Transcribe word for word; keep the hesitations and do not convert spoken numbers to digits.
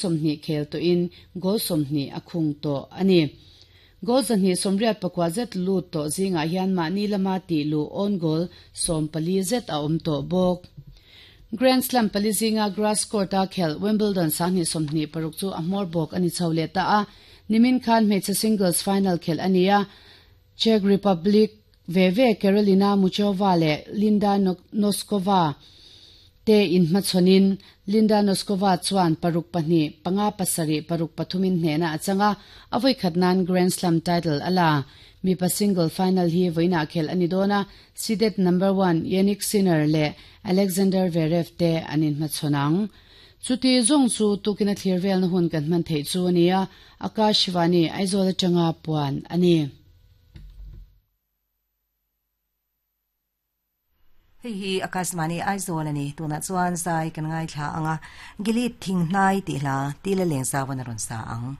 Sawmhnih khel tawhin goal sawmhnih a khung tawh a ni. Goal zahnih sawmriat pakua zet lut tawh zingah hian mahni lama tih luh own goal sawm pali zet a awm tawh bawk. Grand Slam pali zinga grass court-a khelh Wimbledon sanghnih sawmhnih paruk chu a hmawr bawk a ni chho leh ta a. Nimin khan hmeichhe singles final khelh a ni a, Czech Republic ve ve Karolina Muchova leh Linda Noskova te inhmachhawnin Linda Noskova chuan paruk pahnih, panga pasarih, paruk pathumin hnehna a chang a, a vawikhat nan Grand Slam title a la. Mipa single final hi vawiinah khelh a ni dawn a, seeded number one Jannik Sinner leh Alexander Zverev te an inhmachhawn ang. Chuti zawng chu tukin a thlir velna hun kan hman theih chu a ni a, Akash Shivani Aizawl atanga puan a ni. Hei hi Akashvani Aizawl a ni. Tunah chuan zai kan ngaithla ang a, Gilead thing hnai tih hla Tila Lengzauan a rawn sa ang.